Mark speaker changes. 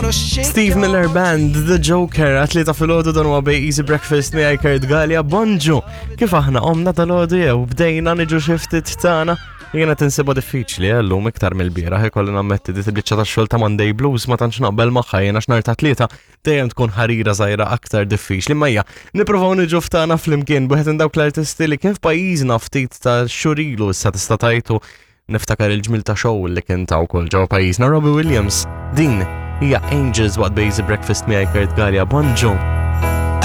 Speaker 1: Steve Miller Band, The Joker, atleta fil-ħodu dan huwa bej Easy Breakfast miegħi Kurt Gallia, bonġu. Kif aħna qomna dal-ħodu jew bdejna niġu xi ftit tagħna. Jiena tinsiba diffiċli eh, llum iktar mill-bieraħ ikolli nammetti di biċċa tax-xogħol ta' Monday Blues ma tantx naqbel magħha jiena x'nar ta' tlieta dejjem tkun ħarira żgħira aktar diffiċli ma hija nippruvaw niġu ftana flimkien b'wieħed minn dawk l-artisti li kien f'pajjiżna ftit ta' xurilu issa tista' tajtu niftakar il-ġmil ta' show li kien ta' wkoll ġewwa pajjiżna Robbie Williams. Din hija Angels waqt Basic Breakfast miegħi Kurt Gallia. Bonġu.